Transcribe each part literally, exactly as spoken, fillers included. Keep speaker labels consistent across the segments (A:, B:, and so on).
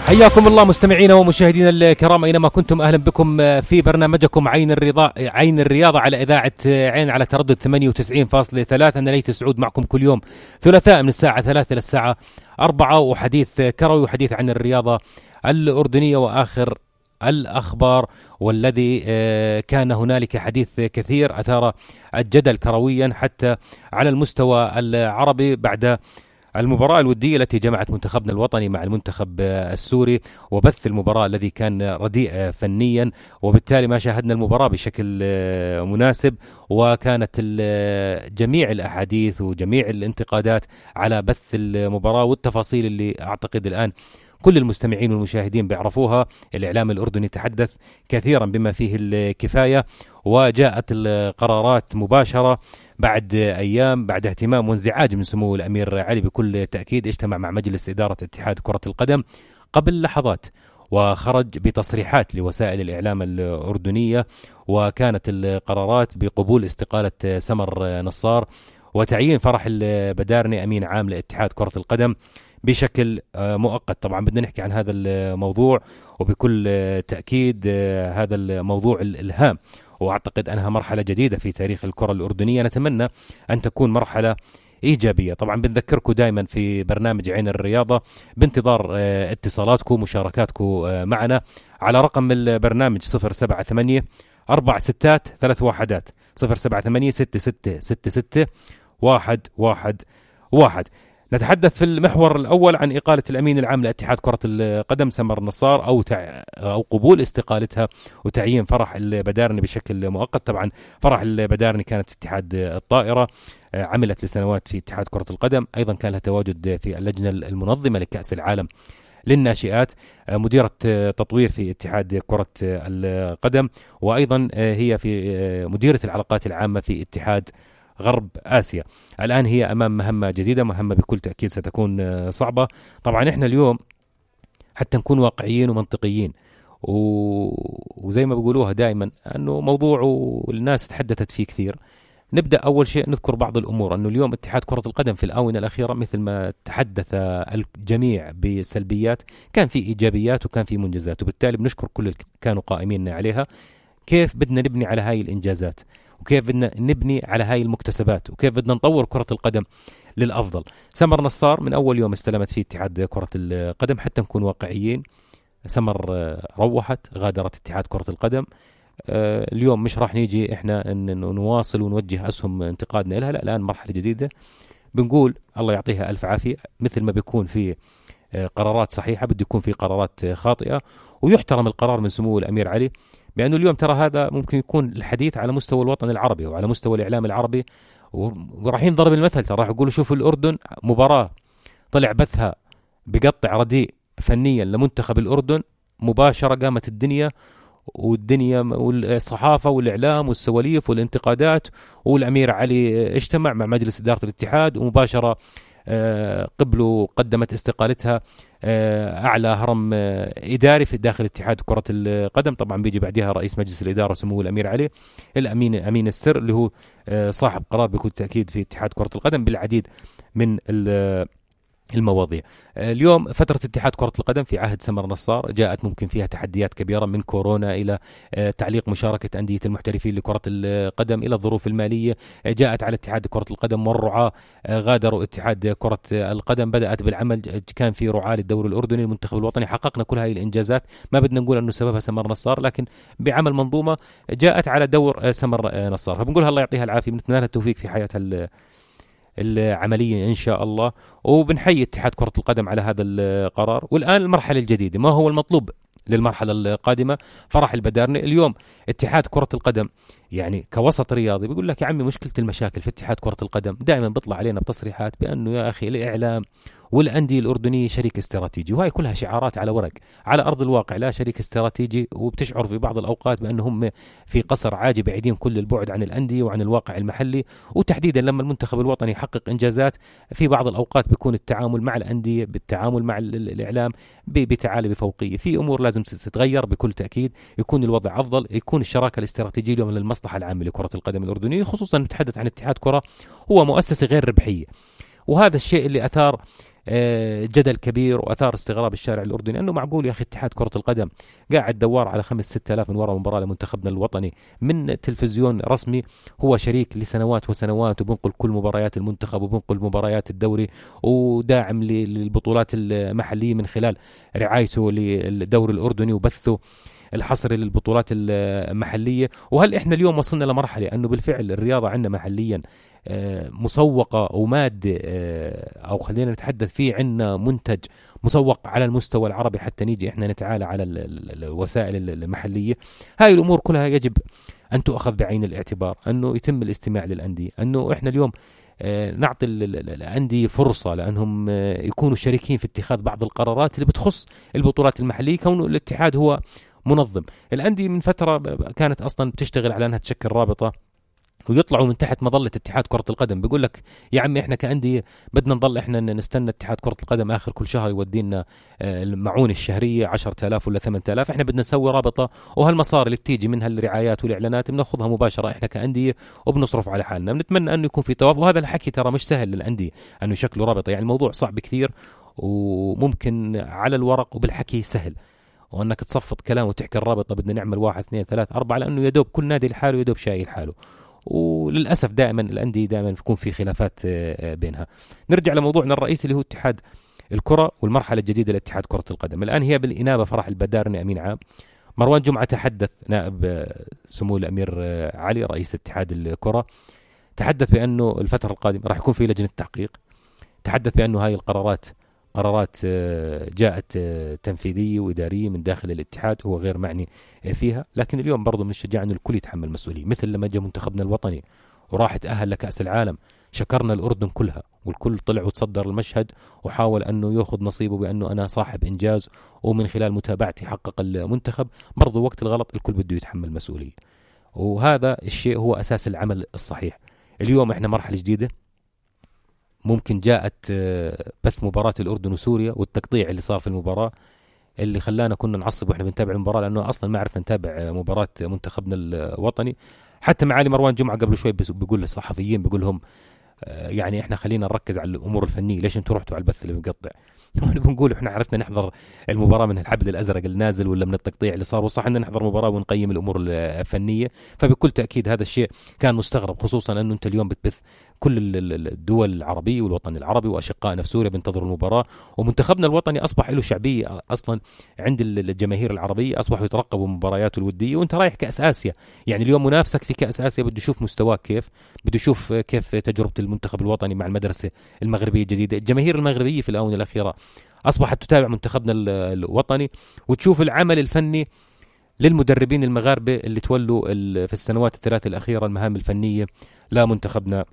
A: حياكم الله مستمعينا ومشاهدينا الكرام أينما كنتم، أهلا بكم في برنامجكم عين الرضا عين الرياضة على إذاعة عين على تردد ثمانية وتسعين فاصلة ثلاثة. أنا ليث سعود معكم كل يوم ثلاثاء من الساعة ثلاثة للساعة أربعة، وحديث كروي وحديث عن الرياضة الأردنية وآخر الأخبار. والذي كان هنالك حديث كثير أثار الجدل كرويا حتى على المستوى العربي بعد المباراة الودية التي جمعت منتخبنا الوطني مع المنتخب السوري، وبث المباراة الذي كان رديء فنيا، وبالتالي ما شاهدنا المباراة بشكل مناسب. وكانت جميع الأحاديث وجميع الانتقادات على بث المباراة والتفاصيل اللي أعتقد الآن كل المستمعين والمشاهدين بيعرفوها. الإعلام الأردني تحدث كثيرا بما فيه الكفاية، وجاءت القرارات مباشرة بعد أيام بعد اهتمام وانزعاج من سمو الأمير علي. بكل تأكيد اجتمع مع مجلس إدارة اتحاد كرة القدم قبل لحظات وخرج بتصريحات لوسائل الإعلام الأردنية، وكانت القرارات بقبول استقالة سمر نصار وتعيين فرح البدارني أمين عام لاتحاد كرة القدم بشكل مؤقت. طبعا بدنا نحكي عن هذا الموضوع، وبكل تأكيد هذا الموضوع الهام، وأعتقد أنها مرحلة جديدة في تاريخ الكرة الأردنية، نتمنى أن تكون مرحلة إيجابية. طبعا بنذكركم دائما في برنامج عين الرياضة بانتظار اتصالاتكم ومشاركاتكم معنا على رقم البرنامج صفر سبعة ثمانية أربع ستات ثلاث واحدات صفر سبعة ثمانية ستة ستة ستة ستة واحد واحد واحد. نتحدث في المحور الأول عن إقالة الأمين العام لاتحاد كرة القدم سمر نصار أو تع... أو قبول استقالتها وتعيين فرح البدارني بشكل مؤقت. طبعا فرح البدارني كانت في اتحاد الطائرة، عملت لسنوات في اتحاد كرة القدم، أيضا كان لها تواجد في اللجنة المنظمة لكأس العالم للناشئات، مديرة تطوير في اتحاد كرة القدم، وأيضا هي في مديرة العلاقات العامة في اتحاد غرب آسيا. الآن هي أمام مهمة جديدة، مهمة بكل تأكيد ستكون صعبة. طبعا إحنا اليوم حتى نكون واقعيين ومنطقيين، و... وزي ما بيقولوها دائما أنه موضوع والناس تحدثت فيه كثير. نبدأ أول شيء نذكر بعض الأمور، أنه اليوم اتحاد كرة القدم في الآونة الأخيرة مثل ما تحدث الجميع بسلبيات، كان في إيجابيات وكان في منجزات، وبالتالي بنشكر كل اللي كانوا قائمين عليها. كيف بدنا نبني على هاي الإنجازات، وكيف بدنا نبني على هاي المكتسبات، وكيف بدنا نطور كرة القدم للأفضل. سمر نصار من أول يوم استلمت فيه اتحاد كرة القدم، حتى نكون واقعيين، سمر روحت غادرت اتحاد كرة القدم. اليوم مش راح نيجي احنا نواصل ونوجه أسهم انتقادنا لها، لا، الآن مرحلة جديدة بنقول الله يعطيها ألف عافية. مثل ما بيكون في قرارات صحيحة بده يكون في قرارات خاطئة، ويحترم القرار من سمو الأمير علي، بأنه اليوم ترى هذا ممكن يكون الحديث على مستوى الوطن العربي وعلى مستوى الإعلام العربي، وراح ينضرب المثل. ترى راح يقولوا شوفوا الأردن مباراة طلع بثها بقطع رديء فنيا لمنتخب الأردن، مباشرة قامت الدنيا والدنيا والصحافة والإعلام والسواليف والانتقادات، والأمير علي اجتمع مع مجلس إدارة الاتحاد ومباشرة قبلوا قدمت استقالتها أعلى هرم إداري في داخل اتحاد كرة القدم. طبعا بيجي بعدها رئيس مجلس الإدارة سمو الأمير علي، الأمين أمين السر اللي هو صاحب قرار بكل تأكيد في اتحاد كرة القدم بالعديد من المواضيع. اليوم فترة اتحاد كرة القدم في عهد سمر نصار جاءت ممكن فيها تحديات كبيرة، من كورونا إلى تعليق مشاركة أندية المحترفين لكرة القدم إلى الظروف المالية جاءت على اتحاد كرة القدم، والرعاة غادروا اتحاد كرة القدم، بدأت بالعمل، كان في رعاة للدوري الأردني المنتخب الوطني، حققنا كل هاي الإنجازات. ما بدنا نقول أنه سببها سمر نصار، لكن بعمل منظومة جاءت على دور سمر نصار، فبنقولها الله يعطيها العافية، بنتمنى لها التوفيق في حياتها العملية إن شاء الله، وبنحيي اتحاد كرة القدم على هذا القرار. والآن المرحلة الجديدة، ما هو المطلوب للمرحلة القادمة؟ فرح البدارني. اليوم اتحاد كرة القدم يعني كوسط رياضي بيقول لك يا عمي مشكلة المشاكل في اتحاد كرة القدم دائما بيطلع علينا بتصريحات بأنه يا أخي الإعلام والأندية الأردنية شريك استراتيجي، وهي كلها شعارات على ورق، على أرض الواقع لا شريك استراتيجي، وبتشعر في بعض الأوقات بأنهم في قصر عاجي بعيدين كل البعد عن الأندية وعن الواقع المحلي. وتحديدا لما المنتخب الوطني يحقق إنجازات في بعض الأوقات بيكون التعامل مع الأندية بالتعامل مع الإعلام بتعالي بفوقية. في أمور لازم تتغير بكل تأكيد، يكون الوضع أفضل، يكون الشراكة الاستراتيجية اليوم للمصلحة العامة لكرة القدم الأردنية، خصوصا نتحدث عن اتحاد كرة هو مؤسسة غير ربحية، وهذا الشيء اللي أثار جدل كبير وأثار استغراب الشارع الأردني، أنه معقول يا أخي اتحاد كرة القدم قاعد دوار على خمس ستة آلاف من وراء مباراة لمنتخبنا الوطني من تلفزيون رسمي هو شريك لسنوات وسنوات، وبنقل كل مباريات المنتخب وبنقل مباريات الدوري، وداعم للبطولات المحلية من خلال رعايته للدوري الأردني وبثه الحصري للبطولات المحلية. وهل إحنا اليوم وصلنا لمرحلة أنه بالفعل الرياضة عندنا محليا مسوقة ومادة، أو خلينا نتحدث فيه عندنا منتج مسوق على المستوى العربي حتى نيجي إحنا نتعالى على الوسائل المحلية؟ هاي الأمور كلها يجب أن تؤخذ بعين الاعتبار، أنه يتم الاستماع للأندية، أنه إحنا اليوم نعطي الأندية فرصة لأنهم يكونوا شريكين في اتخاذ بعض القرارات اللي بتخص البطولات المحلية، كونه الاتحاد هو منظم. الأندية من فترة كانت أصلا بتشتغل على أنها تشكل رابطة، ويطلعوا من تحت مظلة اتحاد كرة القدم بيقول لك يا عمي احنا كأندية بدنا نضل احنا نستنى اتحاد كرة القدم آخر كل شهر يودينا المعونة الشهرية عشرة آلاف ولا ثمانية آلاف، احنا بدنا نسوي رابطة، وهالمصاري اللي بتيجي منها الرعايات والإعلانات بناخذها مباشرة احنا كأندية وبنصرف على حالنا. بنتمنى أنه يكون في توافق، وهذا الحكي ترى مش سهل للأندية أنه يشكلوا رابطة، يعني الموضوع صعب كثير وممكن على الورق وبالحكي سهل، وأنك تصفط كلام وتحكي الرابطة بدنا نعمل واحد اثنين ثلاث أربعة، لأنه يدوب كل نادي لحاله يدوب شايل حاله، وللأسف دائما الأندية دائما بيكون في خلافات بينها. نرجع لموضوعنا الرئيسي اللي هو اتحاد الكرة والمرحلة الجديدة لاتحاد كرة القدم. الآن هي بالإنابة فرح البدارني أمين عام. مروان جمعة تحدث، نائب سمو الأمير علي رئيس اتحاد الكرة، تحدث بأنه الفترة القادمة راح يكون في لجنة تحقيق، تحدث بأنه هاي القرارات قرارات جاءت تنفيذية وإدارية من داخل الاتحاد، هو غير معني فيها، لكن اليوم برضو من الشجاع أن الكل يتحمل مسؤولية. مثل لما جاء منتخبنا الوطني وراح تأهل لكأس العالم، شكرنا الأردن كلها والكل طلع وتصدر المشهد وحاول أنه يأخذ نصيبه بأنه أنا صاحب إنجاز، ومن خلال متابعتي حقق المنتخب. برضو وقت الغلط الكل بده يتحمل مسؤولية، وهذا الشيء هو أساس العمل الصحيح. اليوم إحنا مرحلة جديدة، ممكن جاءت بث مباراة الأردن وسوريا والتقطيع اللي صار في المباراة اللي خلانا كنا نعصب وإحنا بنتابع المباراة، لأنه أصلا ما عرفنا نتابع مباراة منتخبنا الوطني. حتى معالي مروان جمعة قبل شوي بيقول للصحفيين، بيقول لهم يعني إحنا خلينا نركز على الأمور الفنية، ليش أنتوا رحتوا على البث اللي بنقطع؟ بنقول إحنا عرفنا نحضر المباراة من الحبل الأزرق اللي نازل ولا من التقطيع اللي صار، وصح إن نحضر مباراة ونقيم الأمور الفنية. فبكل تأكيد هذا الشيء كان مستغرب، خصوصا أنه أنت اليوم بتبث كل الدول العربية والوطن العربي وأشقائنا في سوريا بينتظروا المباراة، ومنتخبنا الوطني أصبح له شعبية أصلا عند الجماهير العربية، أصبحوا يترقبوا مبارياته الودية. وأنت رايح كأس آسيا، يعني اليوم منافسك في كأس آسيا بده يشوف مستواك كيف، بده يشوف كيف تجربة المنتخب الوطني مع المدرسة المغربية الجديدة. الجماهير المغربية في الآونة الأخيرة أصبحت تتابع منتخبنا الوطني وتشوف العمل الفني للمدربين المغاربة اللي تولوا في السنوات الثلاث الأخيرة المهام الفنية لمنتخبنا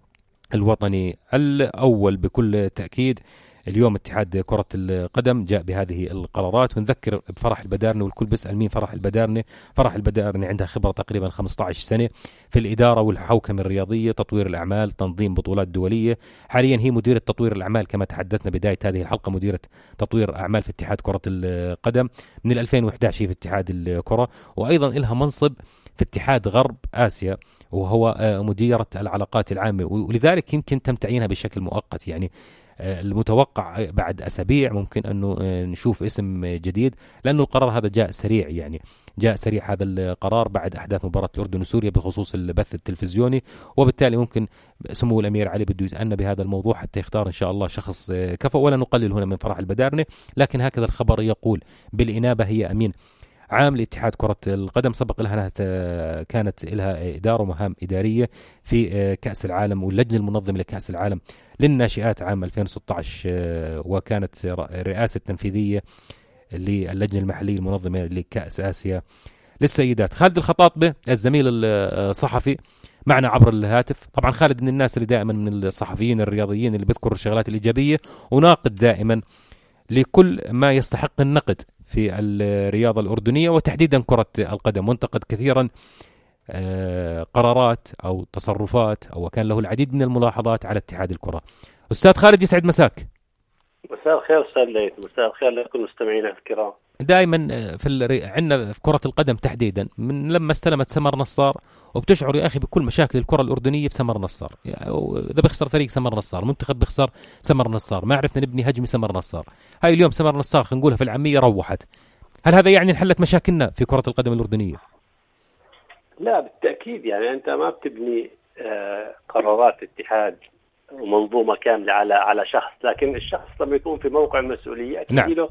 A: الوطني الأول. بكل تأكيد اليوم اتحاد كرة القدم جاء بهذه القرارات، ونذكر بفرح البدارني، والكل بيسأل مين فرح البدارني. فرح البدارني عندها خبرة تقريبا خمسة عشر سنة في الإدارة والحوكمة الرياضية، تطوير الأعمال، تنظيم بطولات دولية. حاليا هي مديرة تطوير الأعمال كما تحدثنا بداية هذه الحلقة، مديرة تطوير أعمال في اتحاد كرة القدم من ألفين وإحدى عشر في اتحاد الكرة، وأيضا لها منصب في اتحاد غرب آسيا وهو مديرة العلاقات العامة، ولذلك يمكن تم تعيينها بشكل مؤقت. يعني المتوقع بعد أسابيع ممكن أنه نشوف اسم جديد، لأنه القرار هذا جاء سريع، يعني جاء سريع هذا القرار بعد أحداث مباراة الأردن وسوريا بخصوص البث التلفزيوني، وبالتالي ممكن سمو الأمير علي بده يتأنى بهذا الموضوع حتى يختار إن شاء الله شخص كفؤ. ولا نقلل هنا من فرح البدارني، لكن هكذا الخبر يقول. بالإنابة هي أمين عام لاتحاد كرة القدم، سبق لها كانت لها إدارة ومهام إدارية في كأس العالم واللجنة المنظمة لكأس العالم للناشئات عام ألفين وستة عشر، وكانت رئاسة تنفيذية للجنة المحلية المنظمة لكأس آسيا للسيدات. خالد الخطاطبة الزميل الصحفي معنا عبر الهاتف. طبعا خالد من الناس اللي دائما من الصحفيين الرياضيين اللي بيذكر الشغلات الإيجابية وناقد دائما لكل ما يستحق النقد في الرياضة الأردنية وتحديدا كرة القدم، وانتقد كثيرا قرارات أو تصرفات أو كان له العديد من الملاحظات على اتحاد الكرة. أستاذ خالد يسعد مساك.
B: مساء الخير أستاذ ليث، مساء الخير لكل مستمعينا الكرام.
A: دائما في الري... عندنا في كرة القدم تحديدا من لما استلمت سمر نصار، وبتشعر يا أخي بكل مشاكل الكرة الأردنية في سمر نصار. إذا بيخسر فريق سمر نصار، منتخب بيخسر سمر نصار، ما عرفنا نبني هجمة سمر نصار. هاي اليوم سمر نصار خلينا نقولها في العامية روحت. هل هذا يعني انحلت مشاكلنا في كرة القدم الأردنية؟
B: لا بالتأكيد، يعني أنت ما بتبني آه قرارات اتحاد ومنظومة كاملة على على شخص، لكن الشخص لما يكون في موقع مسؤولية أكيد نعم. له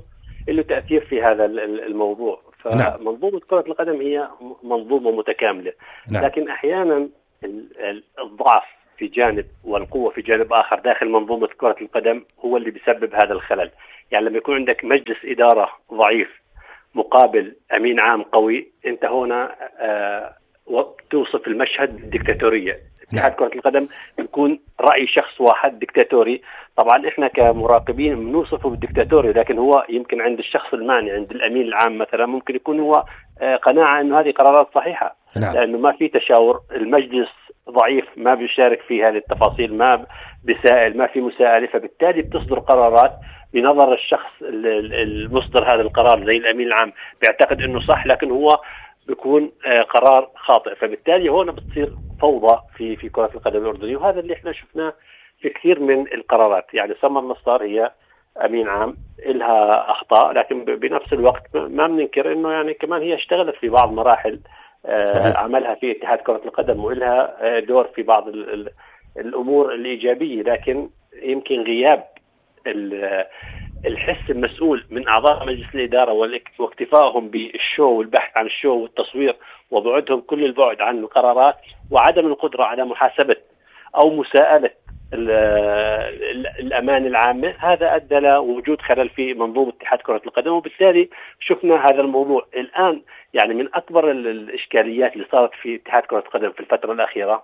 B: له تأثير في هذا الموضوع. فمنظومة كرة القدم هي منظومة متكاملة نعم. لكن أحيانا الضعف في جانب والقوة في جانب آخر داخل منظومة كرة القدم هو اللي بيسبب هذا الخلل. يعني لما يكون عندك مجلس إدارة ضعيف مقابل أمين عام قوي، أنت هنا آه توصف المشهد بالديكتاتورية. اتحاد كرة القدم بيكون رأي شخص واحد ديكتاتوري. طبعا احنا كمراقبين بنوصفه بالديكتاتوري، لكن هو يمكن عند الشخص المعني عند الأمين العام مثلا ممكن يكون هو آه قناعة أنه هذه قرارات صحيحة نعم. لأنه ما في تشاور، المجلس ضعيف ما بيشارك في هذه التفاصيل، ما بيسائل، ما في مساءلة، فبالتالي بتصدر قرارات بنظر الشخص المصدر هذا القرار زي الأمين العام بيعتقد أنه صح، لكن هو بيكون قرار خاطئ. فبالتالي هنا بتصير فوضى في في كرة القدم الأردنية، وهذا اللي احنا شفناه في كثير من القرارات. يعني سمر نصار هي أمين عام إلها أخطاء، لكن بنفس الوقت ما بننكر أنه يعني كمان هي اشتغلت في بعض مراحل صحيح. عملها في اتحاد كرة القدم وإلها دور في بعض الأمور الإيجابية، لكن يمكن غياب الحس المسؤول من أعضاء مجلس الإدارة واكتفائهم بالشو والبحث عن الشو والتصوير وبعدهم كل البعد عن القرارات وعدم القدرة على محاسبة أو مساءلة الأمان العامة، هذا أدى لوجود خلل في منظومة اتحاد كرة القدم. وبالتالي شفنا هذا الموضوع الآن. يعني من أكبر الإشكاليات اللي صارت في اتحاد كرة القدم في الفترة الأخيرة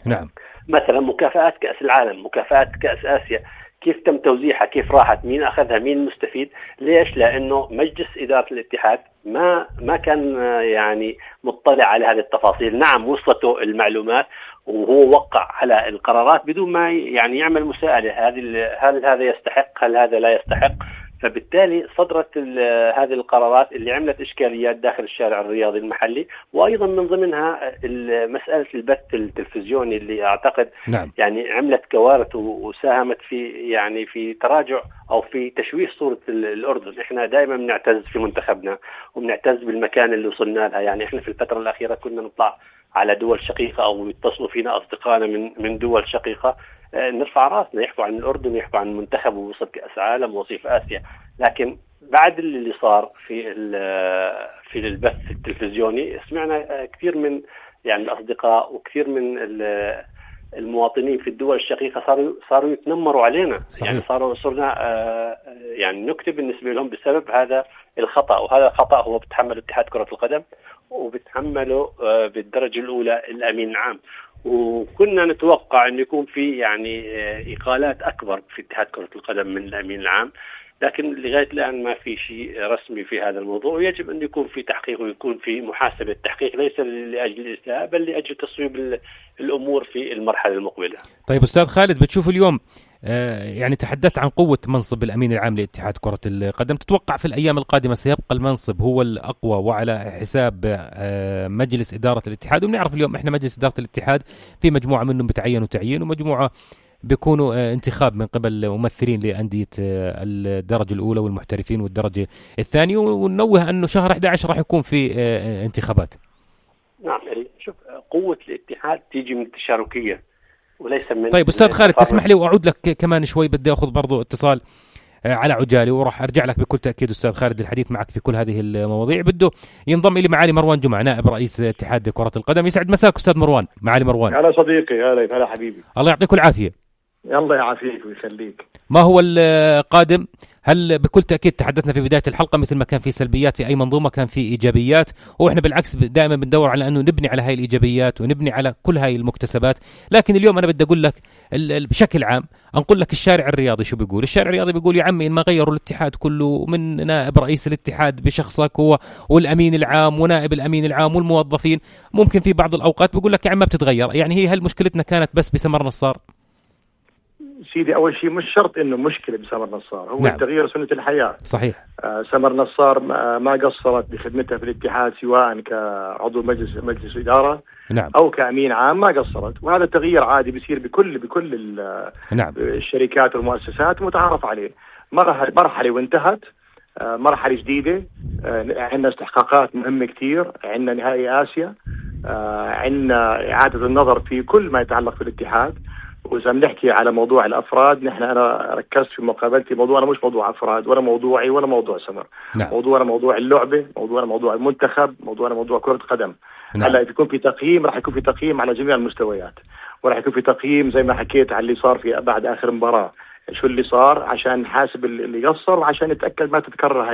A: نعم
B: مثلا مكافآت كأس العالم، مكافآت كأس آسيا، كيف تم توزيعها، كيف راحت، مين أخذها، مين المستفيد. ليش؟ لأنه مجلس إدارة الاتحاد ما ما كان يعني مطلع على هذه التفاصيل. نعم وصلته المعلومات وهو وقع على القرارات بدون ما يعني يعمل مساءلة، هذه هل هذا يستحق، هل هذا لا يستحق. فبالتالي صدرت هذه القرارات اللي عملت إشكاليات داخل الشارع الرياضي المحلي، وأيضا من ضمنها مسألة البث التلفزيوني اللي أعتقد نعم. يعني عملت كوارث وساهمت في يعني في تراجع أو في تشويه صورة الأردن. إحنا دائما بنعتز في منتخبنا وبنعتز بالمكان اللي وصلنا لها. يعني إحنا في الفترة الأخيرة كنا نطلع على دول شقيقة أو يتصلوا فينا أصدقائنا من من دول شقيقة نرفع راسنا، يحكوا عن الأردن، يحكوا عن المنتخب ووصل كأس عالم ووصيف آسيا. لكن بعد اللي صار في في البث التلفزيوني سمعنا كثير من يعني الأصدقاء وكثير من المواطنين في الدول الشقيقة صاروا صاروا يتنمروا علينا صحيح. يعني صاروا صرنا يعني نكتب بالنسبة لهم بسبب هذا الخطأ، وهذا الخطأ هو بتحمله اتحاد كرة القدم وبتحمله بالدرجة الأولى الأمين العام. وكنا نتوقع أن يكون في يعني إقالات أكبر في اتحاد كرة القدم من الأمين العام، لكن لغاية الآن ما في شيء رسمي في هذا الموضوع. ويجب أن يكون في تحقيق ويكون في محاسبة تحقيق، ليس لأجل الإساءة بل لأجل تصويب الأمور في المرحلة المقبلة.
A: طيب أستاذ خالد، بتشوف اليوم يعني تحدثت عن قوة منصب الأمين العام لاتحاد كرة القدم، تتوقع في الأيام القادمة سيبقى المنصب هو الأقوى وعلى حساب مجلس إدارة الاتحاد؟ وبنعرف اليوم إحنا مجلس إدارة الاتحاد في مجموعة منهم بتعينوا تعيين ومجموعة بيكونوا انتخاب من قبل ممثلين لأندية الدرجة الأولى والمحترفين والدرجة الثانية، وننوه أنه شهر أحد عشر راح يكون في انتخابات.
B: نعم، شوف قوة الاتحاد تيجي من التشاركية وليس من.
A: طيب أستاذ خالد تسمح لي وأعود لك كمان شوي، بدي أخذ برضو اتصال على عجالي وراح أرجع لك بكل تأكيد أستاذ خالد الحديث معك في كل هذه المواضيع. بده ينضم إلي معالي مروان جمعة نائب رئيس اتحاد كرة القدم. يسعد مساك أستاذ مروان. معالي مروان.
C: هلا صديقي. هلا هلا حبيبي.
A: الله يعطيك العافية.
C: الله يعافيك ويخليك.
A: ما هو القادم؟ هل بكل تأكيد تحدثنا في بداية الحلقة مثل ما كان في سلبيات في أي منظومة كان في إيجابيات، وإحنا بالعكس دائما بندور على أنه نبني على هاي الإيجابيات ونبني على كل هاي المكتسبات. لكن اليوم أنا بدي أقول لك بشكل عام، أنقل لك الشارع الرياضي شو بيقول. الشارع الرياضي بيقول يا عمي إن ما غيروا الاتحاد كله من نائب رئيس الاتحاد بشخصك هو والأمين العام ونائب الأمين العام والموظفين، ممكن في بعض الأوقات بيقول لك يا عم ما بتتغير. يعني هي هل مشكلتنا كانت بس بسمر نصار؟
C: سيدي أول شيء مش شرط إنه مشكلة بسمر نصار، هو نعم. التغيير سنة الحياة.
A: صحيح.
C: آه سمر نصار ما, ما قصرت بخدمتها في الاتحاد سواء كعضو مجلس مجلس إدارة
A: نعم.
C: أو كأمين عام، ما قصرت. وهذا التغيير عادي بيصير بكل بكل
A: نعم.
C: الشركات والمؤسسات متعارف عليه. مرحلة وانتهت، مرحلة جديدة، عندنا استحقاقات مهمة كتير، عندنا نهائي آسيا، عندنا إعادة النظر في كل ما يتعلق في الاتحاد. وإذا بنحكي على موضوع الأفراد، نحن أنا ركزت في مقابلتي موضوعنا مش موضوع أفراد ولا موضوعي ولا موضوع سمر.
A: نعم.
C: موضوعنا موضوع اللعبة، موضوعنا موضوع المنتخب، موضوعنا موضوع كرة قدم.
A: نعم.
C: هلا يكون في تقييم، راح يكون في تقييم على جميع المستويات، وراح يكون في تقييم زي ما حكيت على اللي صار في بعد آخر مباراة، شو اللي صار عشان نحاسب اللي قصر وعشان نتأكد ما تتكرر هاي